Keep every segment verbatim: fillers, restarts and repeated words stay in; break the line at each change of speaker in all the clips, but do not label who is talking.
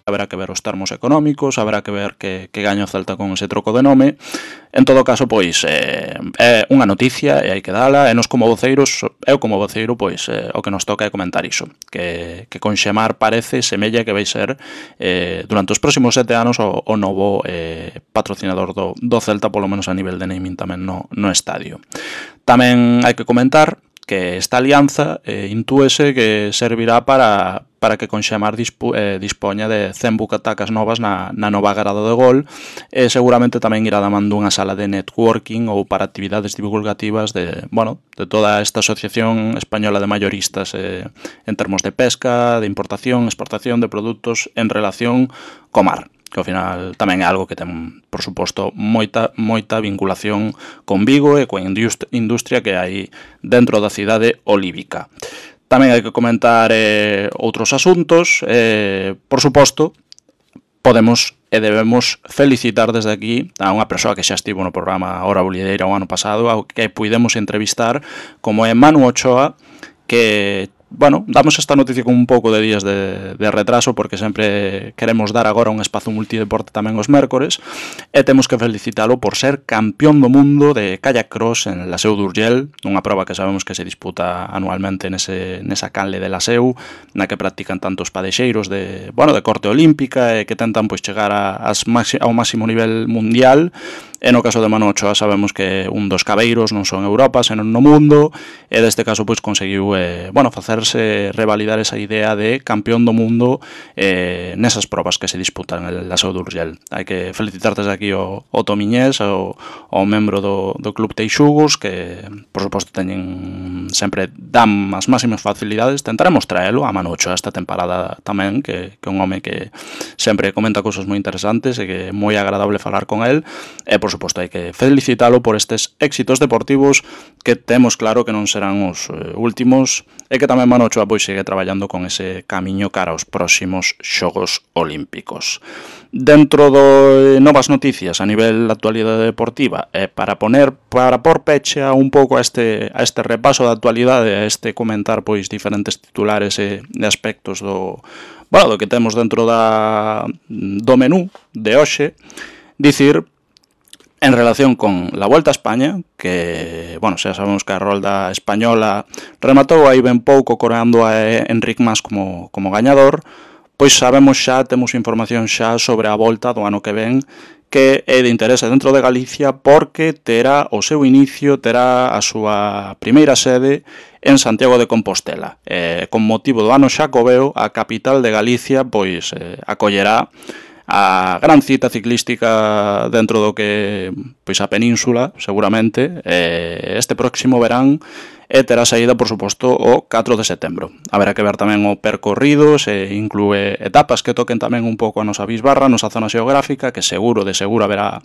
haberá que ver os termos económicos, haberá que ver que, que gaña o Celta con ese troco de nome. En todo caso, pois, eh, é unha noticia e hai que dala, e nos como voceiros, eu como voceiro, pois, eh, o que nos toca é comentar iso, que, que con Xemar parece, semella que vai ser eh, durante os próximos sete anos o, o novo eh, patrocinador do, do Celta, polo menos a nivel de naming tamén no, no estadio. Tamén hai que comentar que esta alianza eh, intúese que servirá para, para que Conxemar dispu, eh, dispoña de cen bucatacas novas na, na nova grada de Gol, e seguramente tamén irá damando unha sala de networking ou para actividades divulgativas de, bueno, de toda esta asociación española de mayoristas eh, en termos de pesca, de importación, exportación de produtos en relación co mar, que ao final tamén é algo que ten, por suposto, moita moita vinculación con Vigo e coa industria que hai dentro da cidade olívica. Tamén hai que comentar eh, outros asuntos, eh, por suposto, podemos e debemos felicitar desde aquí a unha persoa que xa estivo no programa Hora Bolideira o ano pasado, ao que puidemos entrevistar, como é Manu Ochoa, que, bueno, damos esta noticia con un pouco de días de, de retraso, porque sempre queremos dar agora un espazo multideporte tamén os mércores, e temos que felicitalo por ser campeón do mundo de kayak cross en la Seu d'Urgell, unha proba que sabemos que se disputa anualmente nese, nesa canle de la Seu, na que practican tantos padexeiros de, bueno, de corte olímpica e que tentan pois chegar a, as maxi, ao máximo nivel mundial. E no caso de Manu Ochoa sabemos que un dos cabeiros non son Europa, senón no mundo, e deste caso pois conseguiu eh, bueno, facerse revalidar esa idea de campeón do mundo eh, nesas probas que se disputan en la Seu d'Urgell. Hai que felicitar desde aquí o, o Tomiñés, o, o membro do, do Club Teixugos, que por suposto teñen sempre dan as máximas facilidades. Tentaremos traelo a Manu Ochoa esta temporada tamén, que, que é un home que sempre comenta cousas moi interesantes e que é moi agradable falar con el, e por suposto hai que felicitalo por estes éxitos deportivos que temos claro que non serán os eh, últimos, e que tamén Manu Ochoa pois segue traballando con ese camiño cara aos próximos Xogos Olímpicos. Dentro de novas noticias a nivel da actualidade deportiva, eh, para poner para por peche a un pouco a este a este repaso da actualidade, a este comentar pois diferentes titulares e, e aspectos do, bueno, do que temos dentro da do menú de hoxe, dicir en relación con la Vuelta a España, que, bueno, xa sabemos que a rolda española rematou aí ben pouco coreando a Enric Mas como, como gañador, pois sabemos xa, temos información xa sobre a volta do ano que ven, que é de interese dentro de Galicia porque terá o seu inicio, terá a súa primeira sede en Santiago de Compostela. Eh, con motivo do ano xacobeo, a capital de Galicia pois eh, acollerá a gran cita ciclística dentro do que pois a península, seguramente, eh, este próximo verán, e terá saída, por suposto, o catro de setembro. Haberá que ver tamén o percorrido, se inclúe etapas que toquen tamén un pouco a nosa bisbarra, a nosa zona xeográfica, que seguro, de seguro, haberá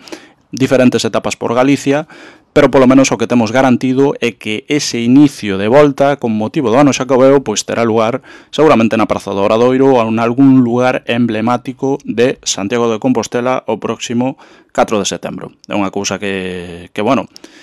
diferentes etapas por Galicia, pero polo menos o que temos garantido é que ese inicio de volta con motivo do ano xacobeo pois terá lugar seguramente na Praza do Obradoiro ou en algún lugar emblemático de Santiago de Compostela o próximo catro de setembro. É unha cousa que, que bueno,